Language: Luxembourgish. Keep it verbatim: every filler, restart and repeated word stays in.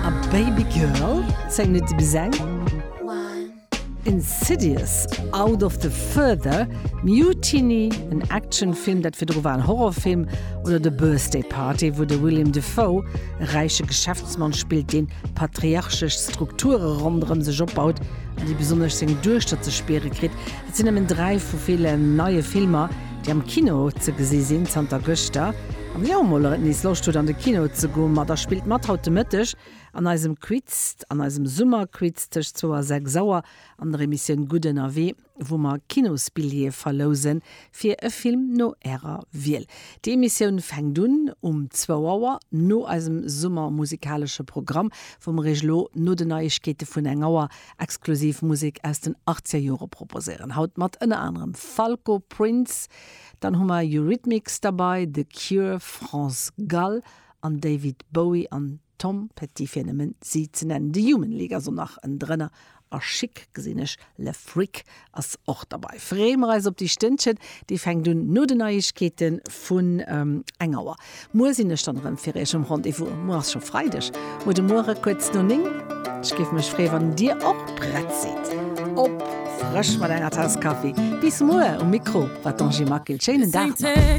A Baby Girl, zéng Minutte bis eng. Insidious, Out of the Further, Mutiny, en Actionfilm, dat virdru war en Horrorfilm, oder The Birthday Party, wou de Willem Dafoe e räiche Geschäftsmann spillt, deen patriarchesch Strukture ronderëm sech opbaut an déi besonnesch seng Duechter ze spiere kritt. Dat sinn nëmmen dräi vu villen neie Filmer, déi am Kino ze gesi sinn zanter gëschter. An wann Dir och mol nees Loscht hutt an de Kino ze goen, ma da spillt mat haut de Mëtteg an eisem Quiz, an eisem Summerquiz tëscht zwou a sechs Auer an der Emissioun Gutt ënnerwee, wou mer Kinosbilljeeë verlousen fir e Film no Ärer Wiel. Déi Emissioun fänkt un um zwou Auer no eisem summermusikalesche Programm, wou mer Iech elo no den Neiegkeete vun eng Auer exklusiv Musek aus den achtzeger Jore proposéieren. Haut mat ënner anerem Falco, Prince, dann hu mer Eurythmics derbäi, The Cure, France Gall an David Bowie an Tom Petty fir nëmmen si ze nennen. The Human League ass och nach en drënner a Chic gesinn ech, Le Freak ass och derbäi. Freeë mer eis op déi Stënnchen, déi fänkt un no den Neiegkeete vun eng Auer. Muer sinn ech dann erëm fir iech um Rendez-vous. Muer ass scho Freideg. Muer de Muere kuerz no néng. Ech géif mech freeë wann dir och prett sidd. Op frësch mat enger Taass Kaffi. Bis muer um Mikro war d'Angie Maquil. Schéinen Dag nach.